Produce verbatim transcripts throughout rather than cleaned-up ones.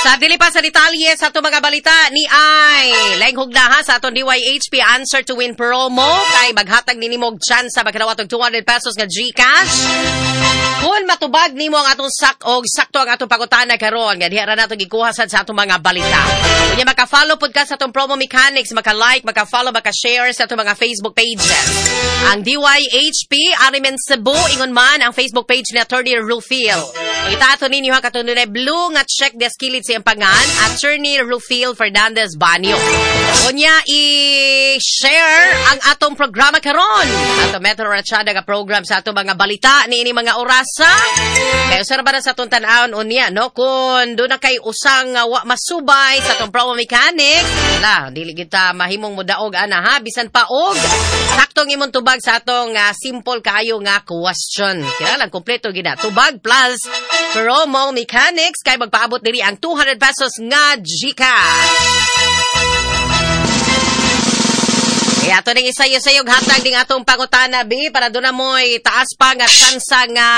Sa dili pa sa detalye sa atong mga balita ni ay laing hugna ha sa atong D Y H P Answer to Win promo kay maghatag nimo og chance sa makadawat og two hundred pesos nga GCash. Kung matubag nimo ang atong sak og sakto ang atong pangutana karon nga diha ra nato gikuha sad sa atong mga balita. Unya maka-follow pud ka sa atong promo mechanics, maka-like, maka-follow, maka-share sa atong mga Facebook pages. Ang D Y H P R M N Cebu, ingon man ang Facebook page ni Attorney Rufil. Itato ninyo ha katong dunay blue nga check desk kilid sa iyang pangan, Attorney Rufil Fernandez Banyo. Unya i-share ang atong programa karon. Ato Metro Ratsyada nga program sa atong mga balita niini mga orasa. Kay usa ra ba na sa atong tan-awon unya, no, kung duna kay usang uh, wa masubay sa atong promo mechanics, wala, dili kita mahimong modaog ana ha, bisan pa og saktong imong tubag sa atong uh, simple kaayo nga question. Kinahanglan kompleto gina. Tubag plus promo mechanics kay magpaabot diri ang two hundred pesos nga GCash. Kaya ato ning isayo-sayog hatag ding atong pangutana bi para doon na mo'y taas pa nga tsansa nga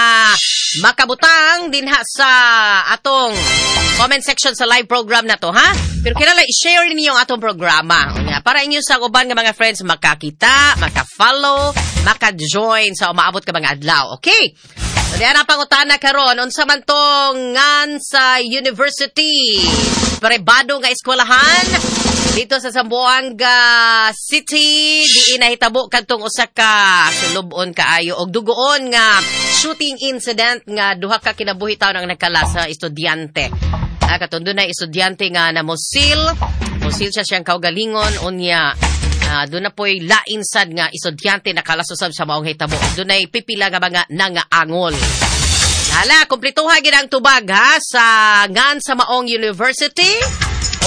makabutang dinha sa atong comment section sa live program na to, ha? Pero kinahanglan i-share ninyo ang atong programa. Unya, para inyo sa uban nga mga friends makakita, maka-follow, maka-join sa umaabot ka mga adlaw. Okay? So, diyan ang pangutana karon, unsa man tong ngan sa university, pribado nga eskwelahan dito sa Zamboanga City diin nahitabo kadtong usa ka sulubon kaayo og dugoon nga shooting incident nga duha ka kinabuhi taon ang nagkala sa estudyante. Ah, katong dunay estudyante nga namusil, musil siya siyang kaugalingon, unya Uh, doon na po'y lain sad nga estudyante nakalas usab sa maong hitabo. Dunay pipila nga mga nangaangol. Hala, kumplituha gid ang tubag ha sa ngan sa maong university.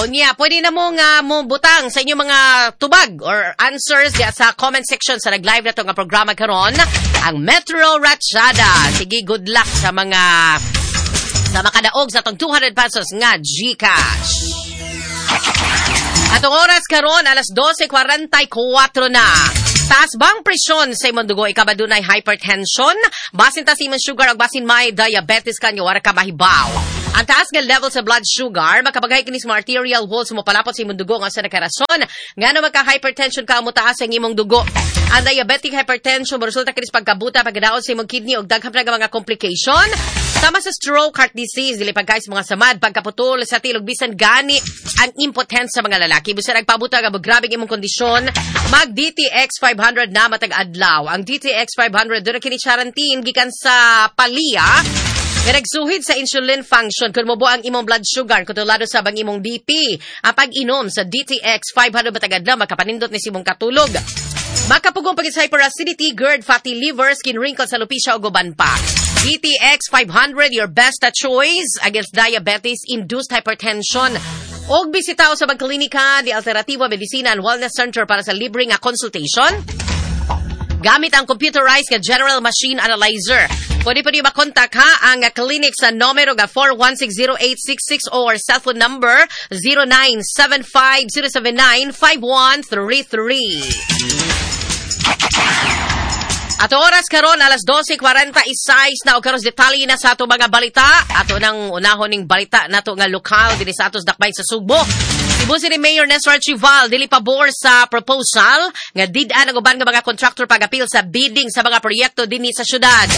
Unya, pwede na mo nga mo butang sa inyong mga tubag or answers diya sa comment section sa nag-live na to nga programa karon, ang Metro Ratsyada. Sige, good luck sa mga sa makadaog sa atong two hundred pesos nga GCash. Atong oras karon, alas dose kwarenta y kuwatro na. Taas bang presyon sa imong dugo? Ikaw ba dunay hypertension? Basin ta sa imong sugar ug basin may diabetes ka niyo, wala ka mahibaw. Ang taas nga level sa blood sugar, makabagay kini sa mga arterial walls, mo palapot sa imong dugo nga sa nakarason. Ngano magka-hypertension ka, mo taas ang imong dugo. Ang diabetic hypertension, moresulta kini sa pagkabuta, pagkadaot sa imong kidney ug daghan pa nga mga complication. Sama sa stroke, heart disease, dili pagkay sa mga samad, pagkaputol sa tilog, bisan gani ang impotence sa mga lalaki. Bisan nagpabuta nga grabe imong kondisyon, mag D T X five hundred na matag adlaw. Ang D T X five hundred duna kini charantin gikan sa Palia nga nagsuhid sa insulin function kung mobo ang imong blood sugar, kontrolado sa bang imong B P. Ang pag-inom sa D T X five hundred matag adlaw makapanindot ni sa imong katulog. Makapugong pag sa hyperacidity, GERD, fatty liver, skin wrinkles, alopecia ug uban pa. D T X five hundred, your best choice against diabetes-induced hypertension. Og bisita sa Klinika di Alternativa Medicina and Wellness Center para sa libre nga consultation gamit ang computerized nga General Machine Analyzer. Pwede pwede makontak ha ang clinic sa numero nga four one six zero eight six six or cellphone number zero nine seven five zero seven nine five one three three. At oras karon, alas dose kwarenta y sais na, og karon detalye na sa ato mga balita. Ato nang unahon ning balita nato nga lokal dinhi sa atos dakbayan sa Sugbo. Cebu City Mayor Nestor Archival dili pabor sa proposal nga did-an ang uban nga mga contractor pag-apil sa bidding sa mga proyekto dinhi sa syudad.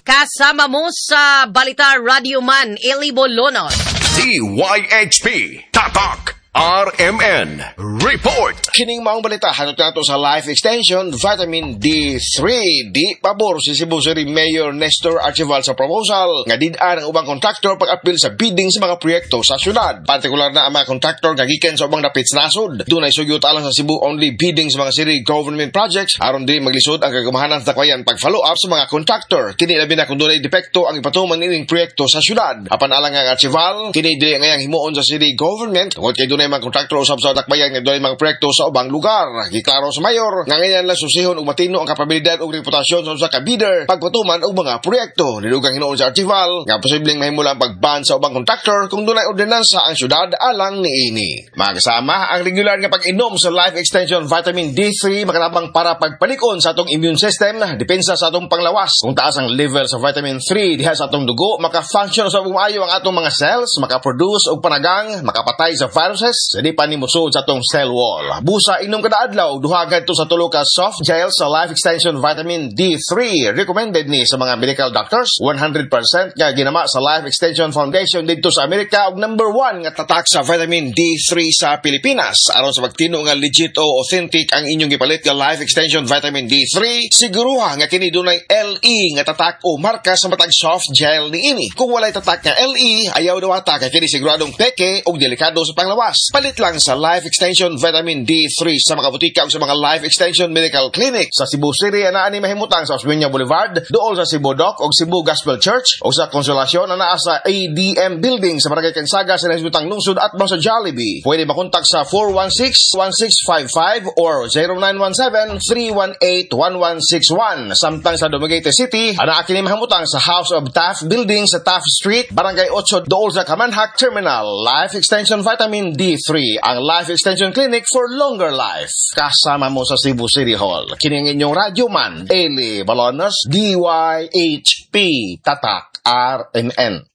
Kasama mo sa balita, Radio Man Eli Bolonos. D Y H P Tatak R M N Report. Kining maong balita hatod nato sa Life Extension Vitamin D three. Di pabor si Cebu City Mayor Nestor Archival sa proposal nga did-an ang ubang kontraktor pag-apil sa bidding sa mga proyekto sa syudad. Partikular na ang mga kontraktor nga gikan sa ubang dapit sa nasod. Dunay sugyot alang sa Cebu only bidding sa mga city government projects aron di maglisod ang kagamhanan sa dakbayan pag-follow up sa mga kontraktor. Kini labi na kung dunay depekto ang ipatuman nining proyekto sa syudad. Apan alang ang Archival, kini dili ngayang himuon sa city government tungod kay dunay dunay mga kontraktor usab sa dakbayan nga dunay mga proyekto sa ubang lugar. Giklaro sa mayor nga ngayon lang susihon ug matino ang kapabilidad ug reputasyon sa usa ka bidder pagpatuman og mga proyekto. Nidugang hinuon sa Archival nga posibleng mahimula ang pagban sa ubang kontraktor kung dunay ordinansa ang syudad alang niini. Mga kasama, ang regular nga pag-inom sa Life Extension Vitamin D three makatabang para pagpalikon sa atong immune system, depensa sa atong panglawas. Kung taas ang level sa vitamin three diha sa atong dugo, maka-function sa maayo ang atong mga cells, maka-produce og panagang, makapatay sa viruses, di pa ni mosud sa atong cell wall. Busa, inom kada adlaw duha ngadto sa tulo ka soft gel sa Life Extension Vitamin D three. Recommended ni sa mga medical doctors, one hundred percent nga ginama sa Life Extension Foundation didto sa Amerika ug number one nga tatak sa vitamin D three sa Pilipinas. Aron sa pagtino nga legit o authentic ang inyong gipalit nga Life Extension Vitamin D three, siguruha nga kini dunay L E nga tatak o marka sa matag soft gel niini. Kung walay tatak nga L E, ayaw dawata kay kini siguradong peke ug delikado sa panglawas. Palit lang sa Life Extension Vitamin D three sa mga botika o sa mga Life Extension Medical Clinic. Sa Cebu City, anaa ni mahimutang sa Osmeña Boulevard, duol sa Cebu Doc o Cebu Gospel Church, o sa Consolacion anaa sa A D M Building sa Barangay Cansaga sa Nasibutang Lungsod at sa Jollibee. Pwede makontak sa four one six, one six five five or zero nine one seven, three one eight, one one six one. Samtang sa Dumaguete City, anaa kini mahimutang sa House of Taft Building sa Taft Street, Barangay eight, duol sa Kamanhak Terminal. Life Extension Vitamin D three, ang Life Extension Clinic for longer life. Kasama mo sa Cebu City Hall. Kini ang inyong radyo man, Eli Balonos, D Y H P, Tatak, R M N.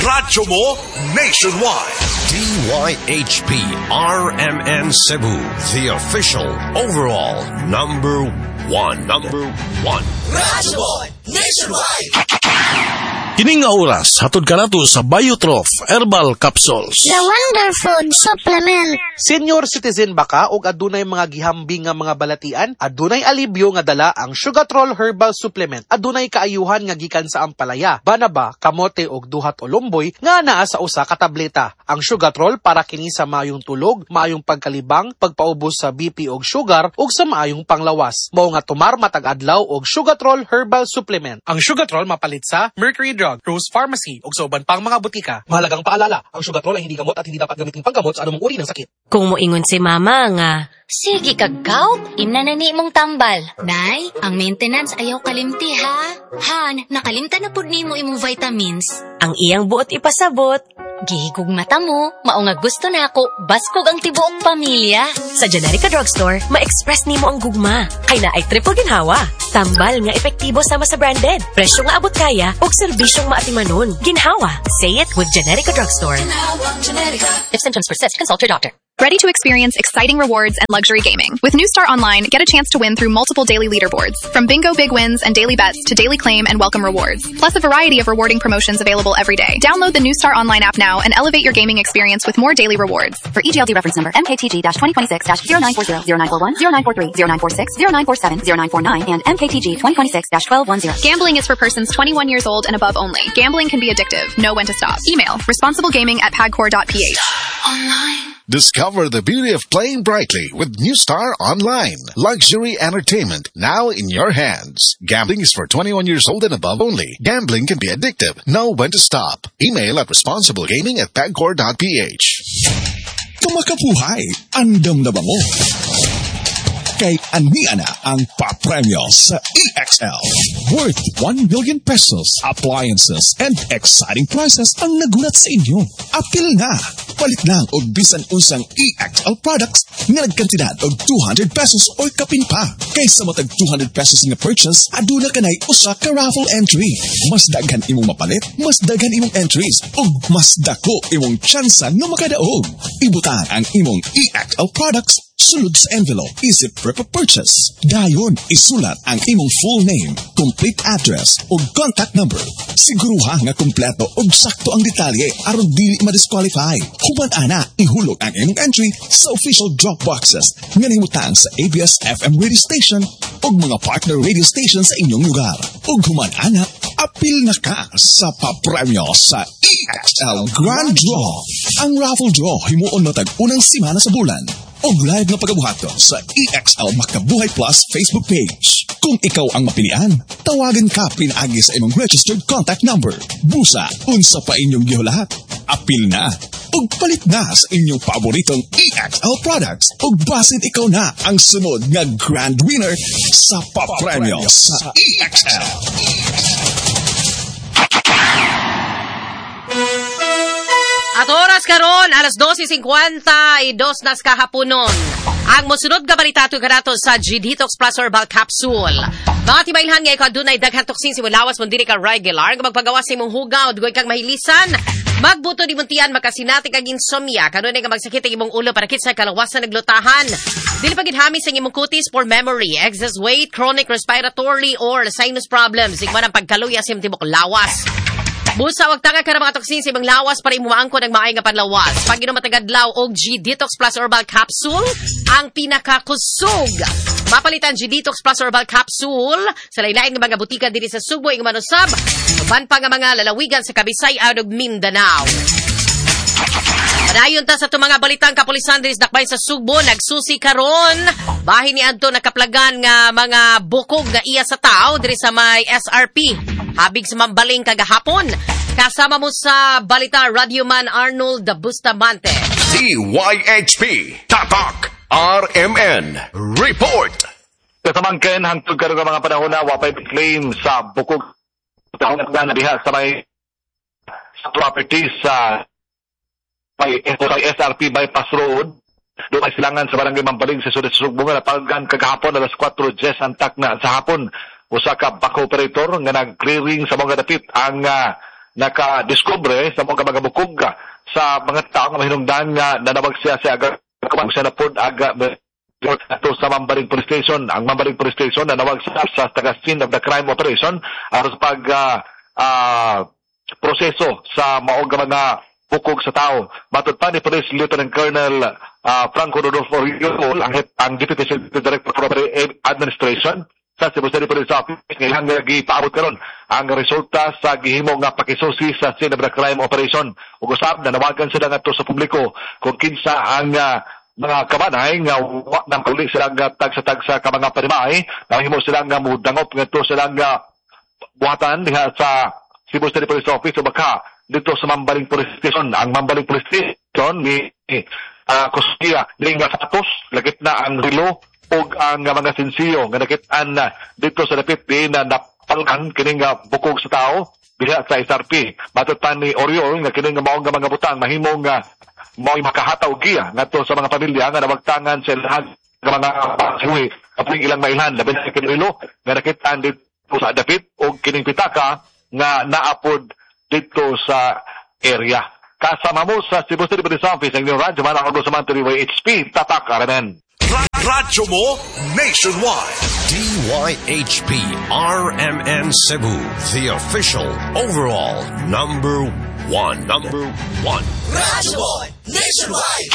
Radyo mo nationwide. D Y H P R M N Cebu, the official overall number one. Number one. Radyo mo nationwide. Kini nga oras, hatod kanato sa Biotroph Herbal Capsules. The Wonder Food Supplement. Senior citizen ba ka og adunay mga gihambing nga mga balatian? Adunay alibyo nga dala ang Sugatrol Herbal Supplement. Adunay kaayuhan nga gikan sa ampalaya, banaba, kamote og duhat o lumboy nga naa sa usa ka tableta. Ang Sugatrol para kini sa maayong tulog, maayong pagkalibang, pagpaubos sa B P og sugar ug sa maayong panglawas. Mao nga tumar matag adlaw og Sugatrol Herbal Supplement. Ang Sugatrol mapalit sa Mercury Drug, Rose Pharmacy ug sa uban pang mga botika. Mahalagang paalala, ang Sugatrol ay hindi gamot at hindi dapat gamitin panggamot sa anumang uri ng sakit. Kung moingon si mama nga, "Sige kag gout, imna na ni imong tambal." "Nay, ang maintenance ayaw kalimti ha." "Han, nakalimtan na pud nimo imong vitamins." Ang iyang buot ipasabot, "Gihigugmata mo, mao nga gusto nako, baskog ang tibuok pamilya." Sa Generika Drugstore, ma-express nimo ang gugma. Kay naay triple ginhawa. Tambal nga epektibo sama sa branded. Presyo nga abot kaya ug serbisyong maatimanon. Ginhawa. Say it with Generika Drugstore. If symptoms persist, consult your doctor. Ready to experience exciting rewards and luxury gaming? With New Star Online, get a chance to win through multiple daily leaderboards. From bingo big wins and daily bets to daily claim and welcome rewards. Plus a variety of rewarding promotions available every day. Download the New Star Online app now and elevate your gaming experience with more daily rewards. For E G L D reference number M K T G twenty twenty-six zero nine four zero, zero nine four one, zero nine four three, zero nine four six, zero nine four seven, zero nine four nine, and M K T G twenty twenty-six twelve ten. Gambling is for persons twenty-one years old and above only. Gambling can be addictive. Know when to stop. Email responsiblegaming at pagcor dot P H. Online. Discover the beauty of playing brightly with New Star Online. Luxury entertainment now in your hands. Gambling is for twenty-one years old and above only. Gambling can be addictive. Know when to stop. Email at responsiblegaming at pagcor dot P H. Kumakabuhay, andam na ba mo? Kay ania na ang papremyo sa E X L. Worth one million pesos, appliances, and exciting prizes ang nagulat sa inyo. Apil na! Palit lang og bisan unsang E X L products nga nagkantidad og two hundred pesos o kapin pa. Kaysa matag two hundred pesos nga purchase, aduna kanay usa ka raffle entry. Mas daghan imong mapalit, mas daghan imong entries, ug mas dako imong tsansa nga makadaog. Ibutang ang imong E X L products sulod sa envelope isip proof of purchase. Dayon, isulat ang imong full name, complete address, ug contact number. Siguruha nga kompleto ug sakto ang detalye aron dili ma-disqualify. Human ana, ihulog ang imong entry sa official drop boxes nga nahimutang sa A B S F M radio station ug mga partner radio station sa inyong lugar. Ug human ana, apil na ka sa papremyo sa E X L Grand Draw. Ang raffle draw himuon matag unang semana sa bulan og live nga pagabuhaton sa E X L Makabuhay Plus Facebook page. Kung ikaw ang mapilian, tawagan ka pinaagi sa imong registered contact number. Busa, unsa pa inyong gihulahat? Apil na! ug palit na sa inyong paboritong E X L products ug basin ikaw na ang sunod nga grand winner sa papremyo sa E X L. At oras karon, alas dose singkwenta y dos nas kahaponon. Ang mosunod nga balita ato kanato sa G-Detox Plus Herbal Capsule. Mga timailhan nga ikaw dunay daghan toxin sa imong lawas mo dili ka regular nga magpagawas sa imong hugaw, dugoy kang mahilisan. Magbuto di muntian, makasinati kag insomnia, kanunay nga magsakit ang imong ulo, parakit sa kalawasan, naglutahan. Dili pagid hamis ang imong kutis, for memory, excess weight, chronic respiratory or sinus problems, igman ang pagkaluya sa imong tibok lawas. Busa wag tanga ka mga toksin sa imong lawas para imo maangkon ang maay nga panlawas. Pag inom matagadlaw og G-Detox Plus Herbal Capsule, ang pinakakusog. Mapalitan G-Detox Plus Herbal Capsule sa lain-lain nga mga butika dinhi sa Sugbo ing manusab, uban pa nga mga lalawigan sa Kabisay-an ug Mindanao. Padayon ta sa itong mga balitang kapulisan diri sa dakbayan sa Sugbo, nagsusi karon bahin ni adto nakaplagan nga mga bukog nga iya sa tao diri sa may S R P habig sa Mambaling kagahapon. Kasama mo sa balita, Radyoman Arnold Bustamante. D Y H P Tatak R M N Report. Kasamangken, hangtod karon nga mga panahon na wapay claim sa bukog na diha sa may sa property sa may sa S R P Bypass Road doon ay silangan sa Barangay Mambaling sa Sudet Sugbo nga napalgan kagahapon alas kwatro diyes ang takna sa hapon. Usa ka backhoe operator nga nag-clearing sa mga dapit ang uh, naka-discover sa mga mga bukog sa mga tao nga mahinungdan nga nanawag siya sa aga siya na pod aga ato sa Mambaling Police Station. Ang Mambaling Police Station nanawag sa, sa taga scene of the crime operation aron sa pag uh, uh, proseso sa maog nga mga bukog sa tao. Matod pa ni Police Lieutenant Colonel uh, Franco Rodolfo Oriol, ang, ang Deputy City Director for Administration sa Cebu City Police Office, nga ilang gipaabot karon ang resulta sa gihimo nga pakisusi sa scene of the crime operation. Ug usab nanawagan sila ngadto sa publiko kung kinsa ang uh, mga kabanay nga wa nang uli sila nga tagsa-tagsa ka mga panimay, nahimo sila nga mudangop ngadto sila nga buhatan diha sa Cebu City Police Office o baka dito sa Mambaling Police Station. Ang Mambaling Police Station ni uh, kustiya ni nga sapatos, lagit na ang relo ug ang mga sensiyo nga nakit-an na dito sa dapit di na napalkan kining nga bukog sa tao diha sa S R P. Matod pa ni Oriol nga kining nga maong nga mga butang mahimong nga mao'y makahataw giya ngadto sa mga pamilya nga nawagtangan sa lahat nga mga pasiwi kaping ilang mailhan, labi na kining relo nga nakit-an dito sa dapit ug kining pitaka nga naapod dito sa area. Kasama mo sa Cebu City Police Office ang inyong radyo man ako sa Manto D Y H P, Tatak R M N. Radyo mo nationwide. D Y H P R M N Cebu, the official overall number one. Number one. Radyo mo nationwide.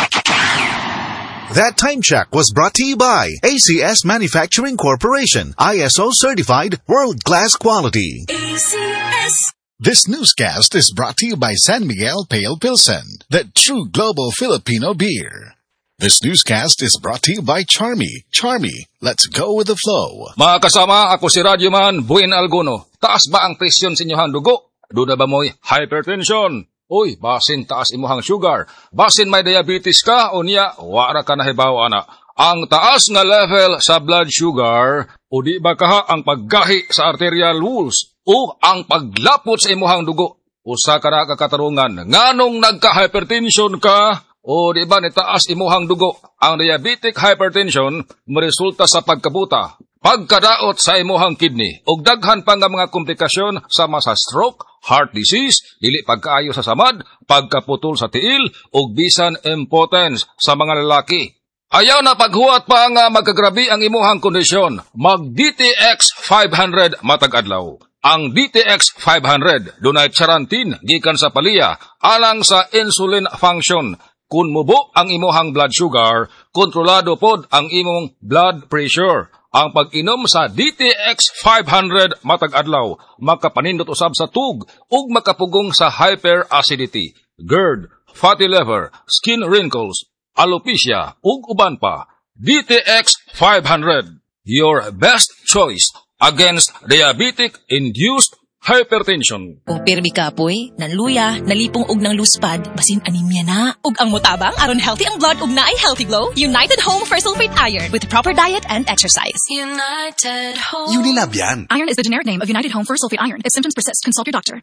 That time check was brought to you by A C S Manufacturing Corporation, I S O certified world-class quality. A C S. This newscast is brought to you by San Miguel Pale Pilsen, the true global Filipino beer. This newscast is brought to you by Charmy. Charmy, let's go with the flow. Mga kasama, ako si Radyoman Buin Alguno. Taas ba ang presyon sa inyong dugo? Duna ba mo'y hypertension? Uy, basin taas imuhang sugar. Basin may diabetes ka o niya, wara ka nahibaw ana. Ang taas nga level sa blood sugar, o di ba kaha ang paggahi sa arterial walls o ang paglapot sa imuhang dugo. Usa ka na kakatarungan, nganong nagka-hypertension ka, o di ba nitaas imuhang dugo. Ang diabetic hypertension moresulta sa pagkabuta, pagkadaot sa imuhang kidney, ug daghan pa nga mga komplikasyon sama sa stroke, heart disease, dili pagkaayo sa samad, pagkaputol sa tiil, ug bisan impotence sa mga lalaki. Ayaw na paghuwat pa nga magkagrabi ang imuhang kondisyon. Mag D T X five hundred matag adlaw. Ang D T X five hundred dunay charantin gikan sa paliya alang sa insulin function. Kung mubo ang imuhang blood sugar, kontrolado pod ang imong blood pressure. Ang pag-inom sa D T X five hundred matag adlaw makapanindot usab sa tug ug makapugong sa hyperacidity, GERD, fatty liver, skin wrinkles, alopecia ug uban pa. D T X five hundred, your best choice against diabetic-induced hypertension. Kung pirmi kapoy, nanluya, nalipong og nangluspad, basin anemia na. Ug ang motabang aron healthy ang blood ug naay healthy glow, United Home Ferrous Sulfate Iron with proper diet and exercise. United Home. Unilab yan. Iron is the generic name of United Home Ferrous Sulfate Iron. If symptoms persist, consult your doctor.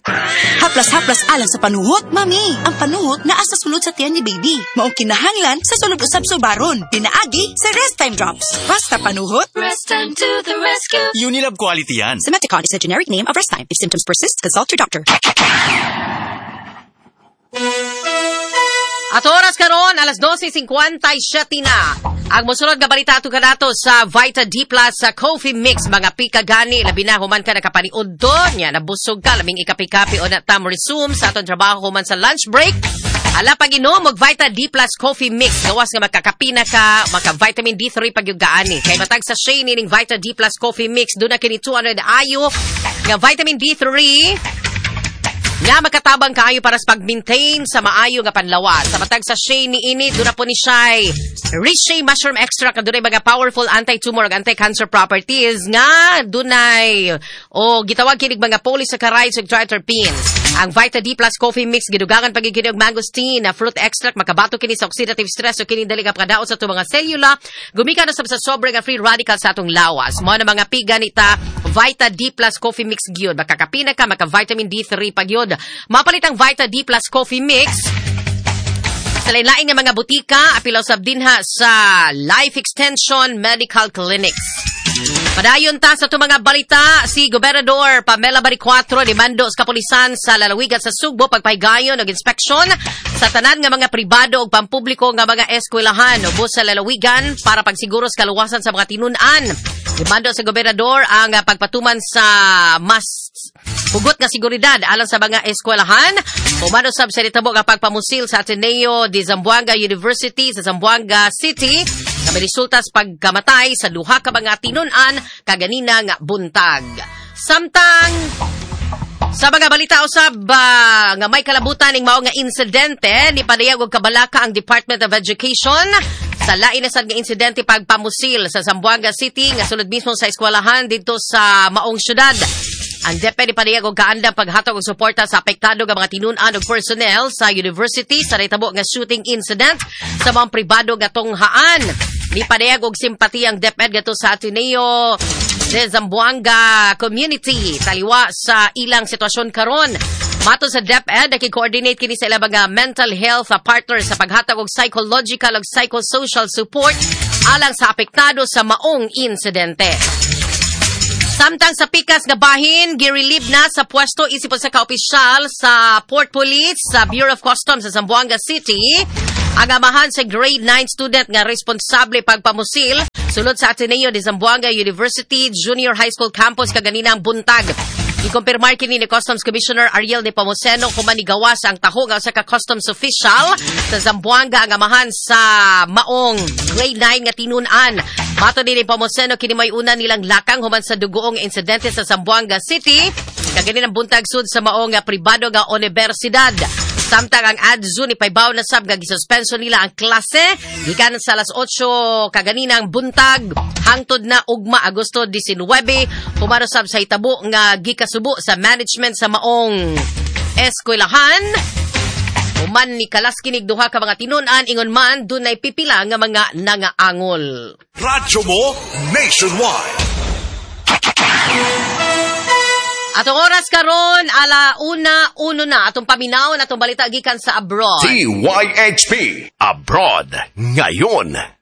Haplas-haplas alang sa panuhot. Mami, ang panuhot naa sa sulod sa tiyan ni baby. Maong kinahanglan sa sulod usab subaron. Pinaagi sa Rest Time Drops. Basta panuhot. Rest time to the rescue. Unilab quality yan. Simeticone is the generic name of Rest Time. If symptoms persist, consult your doctor. At oras karon alas dose singkwenta y siyete na. Ang mosunod nga balita ato kanato sa Vita D Plus sa Coffee Mix, mga pika gani, labi na human ka nakapaniud do nya nabusog ka, labing ikapi-kapi o na tam resume sa atong trabaho human sa lunch break. Ala, pag-inom og Vita D Plus Coffee Mix, gawas nga makakapi na ka, maka vitamin D three pag gaani. Kay matag sachet nining Vita D Plus Coffee Mix, duna kini two hundred I U nga vitamin D three nga makatabang kaayo para sa pag-maintain sa maayo nga panlawas. Sa matag sachet ni ini, duna po ni siya Reishi mushroom extract nga dunay mga powerful anti-tumor ug anti-cancer properties nga dunay o gitawag kinig mga polysaccharides ug triterpenes. Ang Vita D Plus Coffee Mix gidugangan pag kini og mangosteen na fruit extract, makabato kini sa oxidative stress o kini dali nga pagkadaot sa atong mga selula, gumikan usab sa sobre nga free radical sa atong lawas. Mao na, mga piga nita, Vita D Plus Coffee Mix gyud. Makakapi na ka, maka vitamin D three pa gyud. Mapalit ang Vita D Plus Coffee Mix sa lain-lain nga mga butika, apil usab dinha sa Life Extension Medical Clinics. Padayon ta sa itong mga balita, si Gobernador Pamela Baricuatro nimando sa kapulisan sa lalawigan sa Sugbo pagpahigayon og inspeksyon sa tanan nga mga pribado ug pampubliko nga mga eskwelahan ubos sa lalawigan para pagsiguro sa kaluwasan sa mga tinun-an. Nimando sa gobernador ang pagpatuman sa mas hugot nga seguridad alang sa mga eskwelahan. Human usab sa nitabo nga pagpamusil sa Ateneo de Zamboanga University sa Zamboanga City na may resulta sa pagkamatay sa duha ka mga tinun-an kaganina nga buntag. Samtang sa mga balita usab uh, nga may kalabutan ning mao nga insidente, ni padayag og kabalaka ang Department of Education sa lain na sad nga insidente pagpamusil sa Zamboanga City nga sulod mismo sa eskwelahan didto sa maong syudad. Ang DepEd padayag og kaandam paghatag og suporta sa apektado nga mga tinun-an ug personnel sa university sa nahitabo nga shooting incident sa mga pribado nga tunghaan. Ni padayag og simpatiya ang DepEd ngadto sa Ateneo de Zamboanga community taliwa sa ilang sitwasyon karon. Matod sa DepEd, naki-coordinate kini sa ilang mga mental health partners sa paghatag og psychological ug psychosocial support alang sa apektado sa maong insidente. Samtang sa pikas nga bahin, girelieve na sa pwesto isip usa ka opisyal sa Port Police sa Bureau of Customs sa Zamboanga City ang amahan sa grade nine student nga responsable pagpamusil sulod sa Ateneo de Zamboanga University Junior High School campus kaganinang buntag. Gikumpirmar kini ni Customs Commissioner Ariel Nepomuceno human nigawas ang taho nga usa ka customs official sa Zamboanga ang amahan sa maong grade nine nga tinun-an. Matod ni Nepomuceno, kini may una nilang lakang human sa dugoong insidente sa Zamboanga City kaganinang buntag sud sa maong pribado nga universidad. Samtang ang A D Z U ni paybaw na sab nga gisuspenso nila ang klase gikan sa alas otso kaganinang buntag hangtod na ugma, Agosto labing-dalawa, human usab sa hitabo nga gikasubo sa management sa maong eskwelahan. Human ni kalas kinig duha ka mga tinun-an, ingon man dunay pipila nga mga nangaangol. Radyo mo nationwide. Atong oras karon ala una uno na, atong paminawon atong balita gikan sa abroad. T Y H P Abroad Ngayon.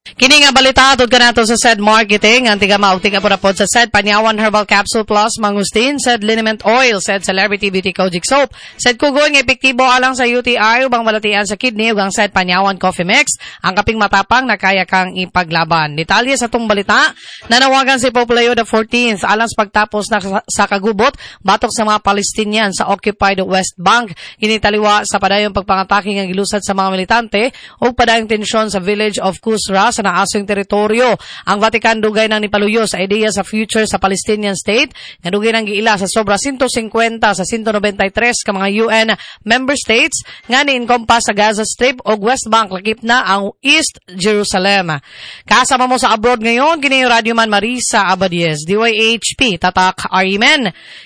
Kini nga balita atod kanato sa SED Marketing, ang tiga maugting pod sa SED Panyawan Herbal Capsule Plus Mangustin, SED Liniment Oil, SED Celebrity Beauty Kojic Soap, SED Kugoy nga epektibo alang sa U T I ubang balatian sa kidney ug ang SED Panyawan Coffee Mix, ang kaping matapang na kaya kang ipaglaban. Detalye sa atong balita, nanawagan si Pope Leo the fourteenth alang sa pagtapos na sa kagubot batok sa mga Palestinian sa occupied West Bank. Kini taliwa sa padayong pagpangatake nga gilusad sa mga militante ug padayong tensyon sa village of Kusra. sa naasong teritoryo. Ang Vatican dugay nang nipaluyo sa ideya sa future sa Palestinian state nga dugay nang giila sa sobra one fifty sa one ninety-three ka mga U N member states nga ni-encompass sa Gaza Strip o West Bank, lakip na ang East Jerusalem. Kasama mo sa abroad ngayon, kini Radyo Man Marisa Abadies, D Y H P, Tatak R M N.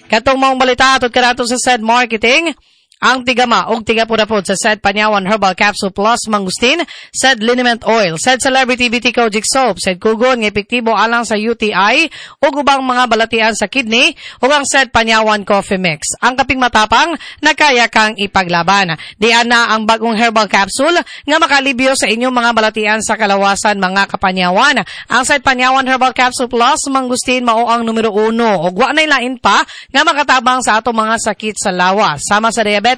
Katong maong balita atot kanato sa said marketing, ang tigama og tigapudapod sa said Panyawan Herbal Capsule Plus Mangustin, said Liniment Oil, said Celebrity Beauty Kojic Soap, said Kugon nga epektibo alang sa U T I ug ubang mga balatian sa kidney, ug ang said Panyawan Coffee Mix. Ang kaping matapang na kaya kang ipaglaban. Diyan na ang bagong herbal capsule nga makalibyo sa inyong mga balatian sa kalawasan, mga kapanyawan. Ang said Panyawan Herbal Capsule Plus Mangustin mao ang numero uno ug wa nay lain pa nga makatabang sa atong mga sakit sa lawas, sama sa diabetes,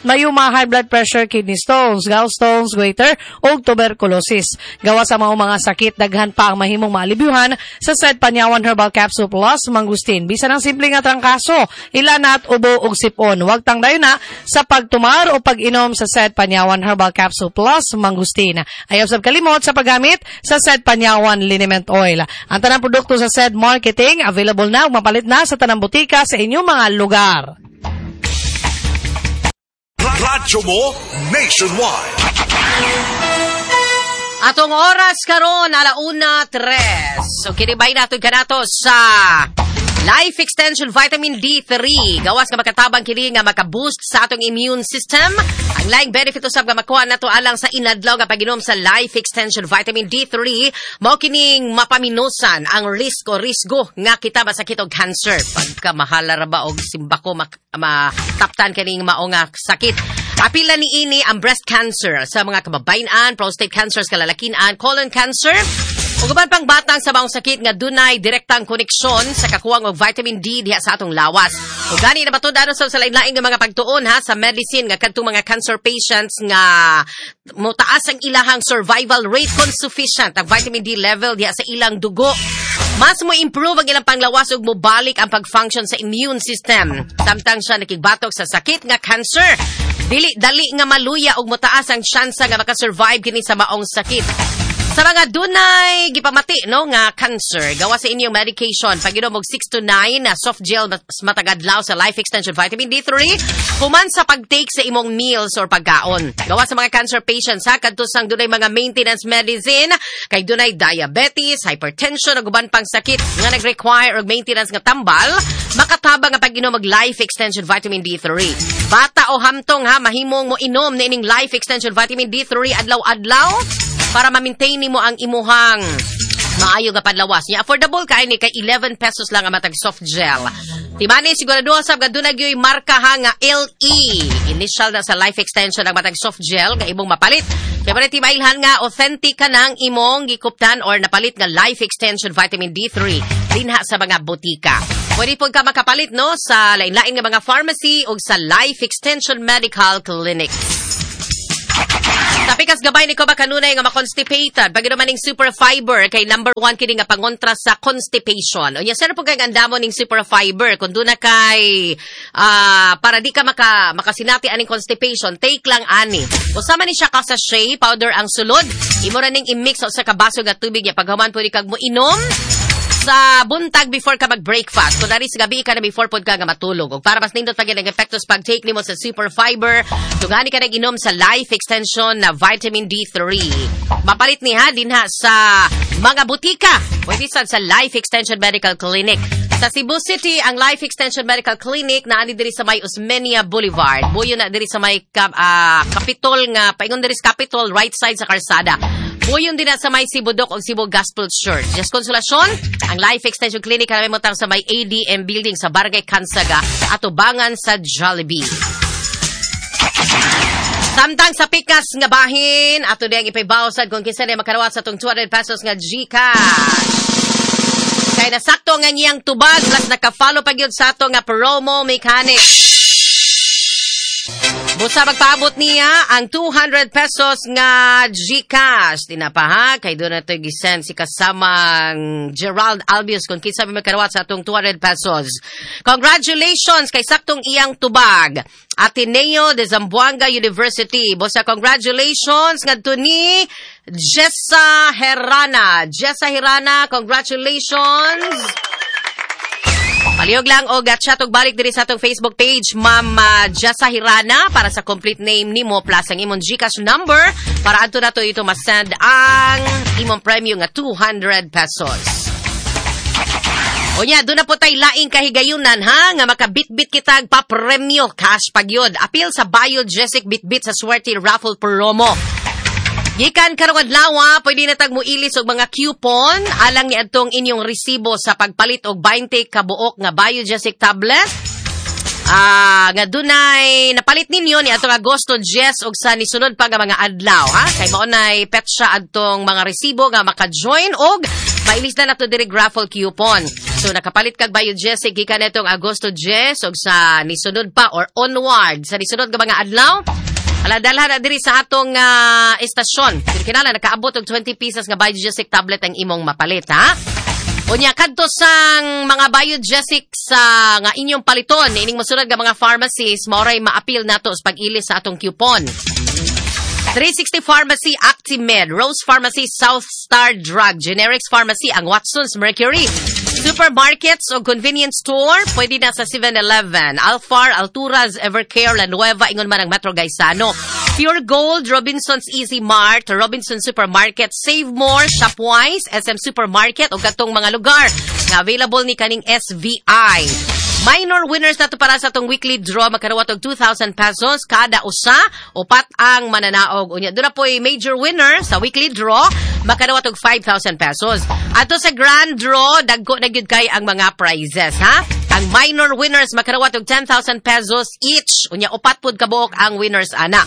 mayuma, high blood pressure, kidney stones, gallstones, goiter, ug tuberculosis. Gawa sa mga mga sakit, daghan pa ang mahimong maalibyuhan sa said Panyawan Herbal Capsule Plus Mangustin. Bisan ang simple nga trangkaso, ilanat, ubo ug sipon. Huwag tangdayon na sa pagtumar o pag-inom sa said Panyawan Herbal Capsule Plus Mangustin. Ayaw sab kalimot sa paggamit sa said Panyawan Liniment Oil. Ang tanang produkto sa said marketing available na ug mapalit na sa tanang butika sa inyong mga lugar. Radyo mo nationwide. Atong oras karon alauna tres. So kinibay nato kanato sa Life Extension Vitamin D three. Gawas nga makatabang kini nga maka-boost sa atong immune system. Ang laing benefit usab nga makuha nato alang sa inadlaw nga pag-inom sa Life Extension Vitamin D three, mao kining mapaminusan ang risk o risgo nga kita masakit og cancer. Pagka mahala ra ba og simbako mataptan kining mao nga sakit. Apila ni ini ang breast cancer sa mga kababayen-an, prostate cancer sa kalalakian, colon cancer, ug uban pang batang sa maong sakit nga dunay direktang koneksyon sa kakuwang og vitamin D diha sa atong lawas. Ug gani na matud-an sa lain-lain nga mga pagtuon ha sa medicine nga kadtong mga cancer patients nga motaas ang ilahang survival rate kung sufficient ang vitamin D level diha sa ilang dugo. Mas mo improve ang ilang panglawas ug mobalik ang pag-function sa immune system. Samtang siya nakigbatok sa sakit nga cancer, dili dali nga maluya ug motaas ang tsansa nga makasurvive kini sa maong sakit. Sa mga dunay gipamati no nga cancer, gawa sa inyong medication, pag-inom og six to nine na soft gel matagadlaw sa Life Extension Vitamin D three, human sa pag-take sa imong meals or pagkaon. Gawa sa mga cancer patients ha, kadto sang dunay mga maintenance medicine, kay dunay diabetes, hypertension ug uban pang sakit nga nag-require og maintenance nga tambal, makatabang ang pag-inom og Life Extension Vitamin D three. Bata o hamtong ha, mahimong mo inom niining Life Extension Vitamin D three adlaw-adlaw para ma-maintain nimo ang imuhang maayo nga padlawas. Nya affordable kay ni kay eleven pesos lang ang matag soft gel. Timani sigurado sab nga dunay gyoy marka ha nga L E. Initial na sa Life Extension ang matag soft gel nga imong mapalit. Kay para timailhan nga authentic ka nang imong gikuptan or napalit nga Life Extension Vitamin D three dinha sa mga botika. Pwede po ka makapalit no sa lain-lain nga mga pharmacy o sa Life Extension Medical Clinic. Tapikas gabay ni ko ba kanunay nga makonstipated? Pag inuman ning super fiber kay number one kini nga pangontra sa constipation. Unya sir po kay andamo ning super fiber kung duna kay uh, para di ka maka makasinati aning constipation, take lang ani. Usama ni siya ka sachet powder ang sulod. Imo ra ning i-mix sa usa ka baso nga tubig ya paghuman pwede kag mo inom sa buntag before ka mag-breakfast. Kung dari sa gabi ka na before pod ka nga matulog. Og para mas nindot pag ang epektos pag-take nimo sa super fiber, tungani ka nag-inom sa Life Extension na Vitamin D three. Mapalit ni ha dinha sa mga butika. Pwede sad sa Life Extension Medical Clinic. Sa Cebu City, ang Life Extension Medical Clinic naani diri sa may Osmeña Boulevard. Buyo na diri sa may uh, Capitol nga paingon diri sa Capitol, right side sa karsada. Buyon din na sa may Cebu Doc o Cebu Gospel Church. Just Consolacion, ang Life Extension Clinic kanami mo tang sa may A D M Building sa Barangay Kansaga at ubangan sa Jollibee. Samtang sa pikas nga bahin, ato diyang ipaybawsad kung kinsa niya makarawat sa itong two hundred pesos nga GCash. Kay nasakto nga ngiyang tubag, plus naka-follow pag yun sa ato nga promo mechanic. Busa magpaabot niya ang two hundred pesos nga GCash. Di na pa ha, kay doon na ito gisend si kasamang Gerald Albius kung kinsa may magkarawat sa atong two hundred pesos. Congratulations kay saktong iyang tubag. Ateneo de Zamboanga University. Busa congratulations ngadto ni Jessa Herrana. Jessa Herrana, congratulations. Palihog lang og chat og balik diri sa atong Facebook page, Ma'am uh, Jessa Hirana, para sa complete name nimo plus ang imong GCash number para adto nato ito masend ang imong premyo nga two hundred pesos. Unya, doon na po tay laing kahigayunan ha, nga makabitbit kitag papremyo cash pagyod. Apil sa Biogesic Bitbit sa Swerte Raffle Promo. Gikan karong adlaw, pwede na tag moilis og mga coupon alang ni adtong inyong resibo sa pagpalit og twenty ka buok nga Biogesic tablet. Ah, nga dunay napalit ninyo ni atong Agosto ten og sa nisunod pa nga mga adlaw ha. Kay mao nay petsa adtong mga resibo nga maka-join og mailis na nato diri raffle coupon. So nakapalit kag Biogesic gikan netong Agosto ten og sa nisunod pa or onward sa nisunod nga mga adlaw. Ala, dalhan na diri sa atong uh, estasyon. Pero kinahanglan nakaabot og twenty pieces nga Biogesic tablet ang imong mapalit ha. Unya, kadto sang mga Biogesic sa nga inyong paliton ining mosunod nga mga pharmacies, maoray maapil nato sa pag-ilis sa atong coupon. three sixty Pharmacy, Actimed, Rose Pharmacy, South Star Drug, Generics Pharmacy, ang Watson's Mercury. Supermarkets o convenience store, pwede na sa seven-Eleven, Alfar, Alturas, Evercare, La Nueva, ingon man ang Metro Gaisano. Pure Gold, Robinson's Easy Mart, Robinson Supermarket, Save More, Shopwise, S M Supermarket o katong mga lugar nga available ni kaning S V I. Minor winners nato para sa atong weekly draw makarawat og two thousand pesos kada usa, upat ang mananaog. Unya doon na po'y major winner sa weekly draw makarawat og five thousand pesos. Ato sa grand draw, dagko na gyud kay ang mga prizes ha. Ang minor winners makarawat og ten thousand pesos each. Unya upat pud kabuok ang winners ana.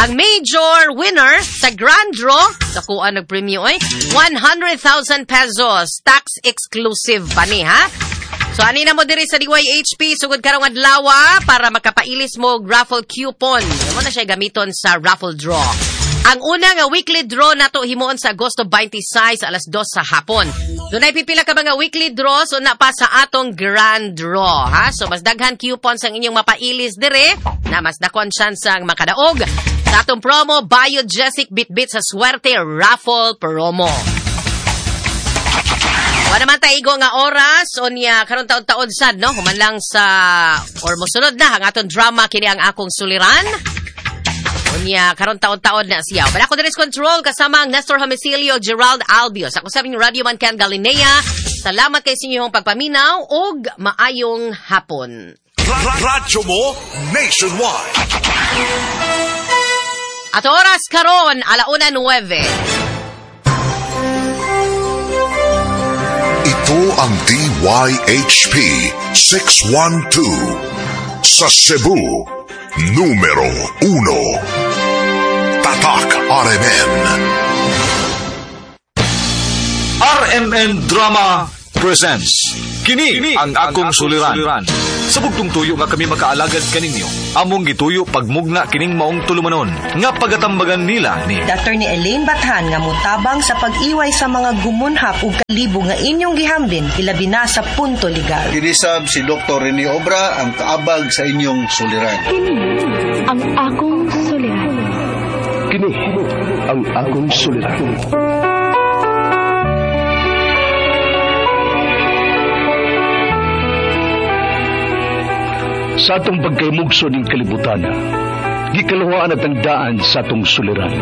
Ang major winner sa grand draw, dakuan nagpremyo oy, one hundred thousand pesos, tax exclusive pa ni ha. So ani na mo diri sa D Y H P sugod karong adlaw para makapailis mo og raffle coupon. Mo na siya gamiton sa raffle draw. Ang una nga weekly draw nato himuon sa Agosto twenty-six alas dos sa hapon. Dunay pipila ka mga weekly draw so na pa sa atong grand draw ha. So mas daghan coupons ang inyong mapailis dire na mas dakon chance ang makadaog sa atong promo Biogesic Bitbit sa Swerte Raffle Promo. Wala naman taigo nga oras unya karon taon-taon sad no, human lang sa or mosunod na ang atong drama, kini ang akong suliran. Unya karon taon-taon na siya. Pero ako diri control kasama ang Nestor Homicilio, Gerald Albios. Ako sa inyong Radio Man Ken Galinea. Salamat kay sa inyong pagpaminaw ug maayong hapon. Radyo mo nationwide. At oras karon alauna nuwebe. Ito ang D Y H P six one two sa Cebu, numero uno. Tatak R M N. R M N Drama presents Kini ang akong suliran. Sa bugtong tuyo nga kami makaalagad kaninyo, among gituyo pagmugna kining maong tulumanon nga pagatambagan nila ni Attorney Elaine Bathan nga mutabang sa pag-iway sa mga gumunhap ug kalibo nga inyong gihambin, ilabi na sa punto legal. Kinisab si Doctor Rene Obra, ang kaabag sa inyong suliran. Kini ang akong suliran. Kini ang akong suliran. Sa atong pagkaymugso ning kalibutan, gikaluhaan at ang daan sa atong suliran.